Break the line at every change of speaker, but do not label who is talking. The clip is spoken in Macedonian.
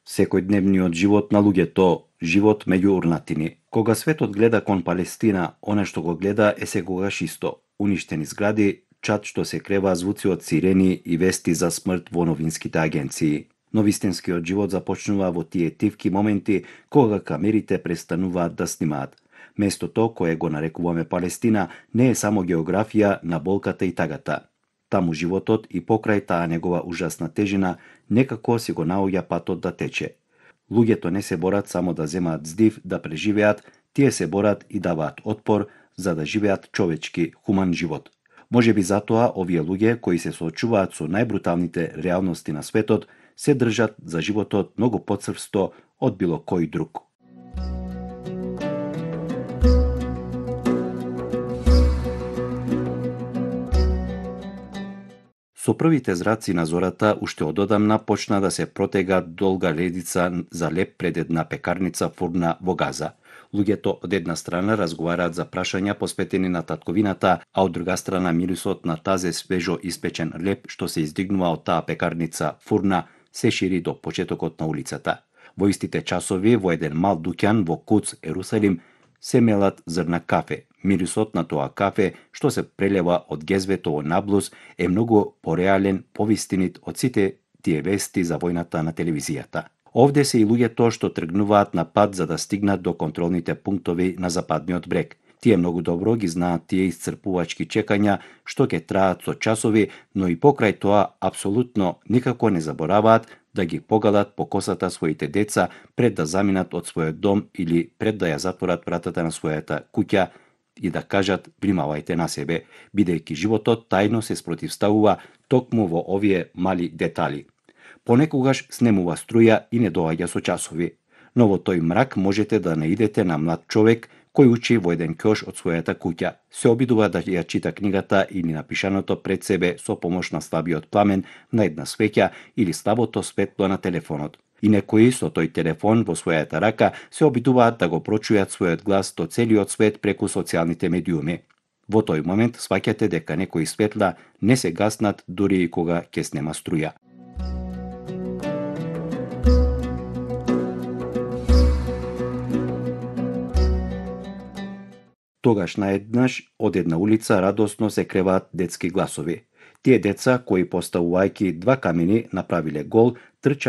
Секојдневниот живот на луѓето, живот меѓу урнатини. Кога светот гледа кон Палестина, она што го гледа е секогаш исто. Уништени згради, чад што се крева, звуци од сирени и вести за смрт во новинските агенции. Но вистинскиот живот започнува во тие тивки моменти кога камерите престануваат да снимаат. Местото кое го нарекуваме Палестина не е само географија на болката и тагата. Таму животот и покрај таа негова ужасна тежина некако си го наоѓа патот да тече. Луѓето не се борат само да земаат здив да преживеат, тие се борат и даваат отпор за да живеат човечки, хуман живот. Можеби затоа овие луѓе кои се соочуваат со најбруталните реалности на светот се држат за животот многу поцрвсто од било кој друг. Со првите зраци на зората, уште ододамна почна да се протега долга редица за леп пред една пекарница фурна во Газа. Луѓето од една страна разговараат за прашања посветени на татковината, а од друга страна мирисот на тазе свежо испечен леп што се издигнува од таа пекарница фурна се шири до почетокот на улицата. Во истите часови во еден мал дуќан во Куц, Ерусалим, се мелат зрна кафе. Мирисот на тоа кафе, што се прелева од гезвето во наблус, е многу пореален, повистинит од сите тие вести за војната на телевизијата. Овде се и луѓето што тргнуваат на пат за да стигнат до контролните пунктови на западниот брег. Тие многу добро ги знаат тие исцрпувачки чекања што ќе траат со часови, но и покрај тоа апсолутно никако не забораваат да ги погалат по косата своите деца пред да заминат од својот дом или пред да ја затворат вратата на својата куќа и да кажат внимавајте на себе, бидејќи животот тајно се спротивставува токму во овие мали детали. Понекогаш снемува струја и не доаѓа со часови, но во тој мрак можете да наидете на млад човек кој учи во еден ќош од својата куќа. Се обидува да ја чита книгата или напишаното пред себе со помош на слабиот пламен на една свеќа или слабото светло на телефонот. И некои со тој телефон во својата рака се обидуваат да го прочујат својот глас до целиот свет преку социјалните медиуми. Во тој момент сваќате дека некои светла не се гаснат дури и кога ќе снема струја. Тогаш наеднаш од една улица радосно се креваат детски гласови. Тие деца кои поставувајќи 2 камени направиле гол, трча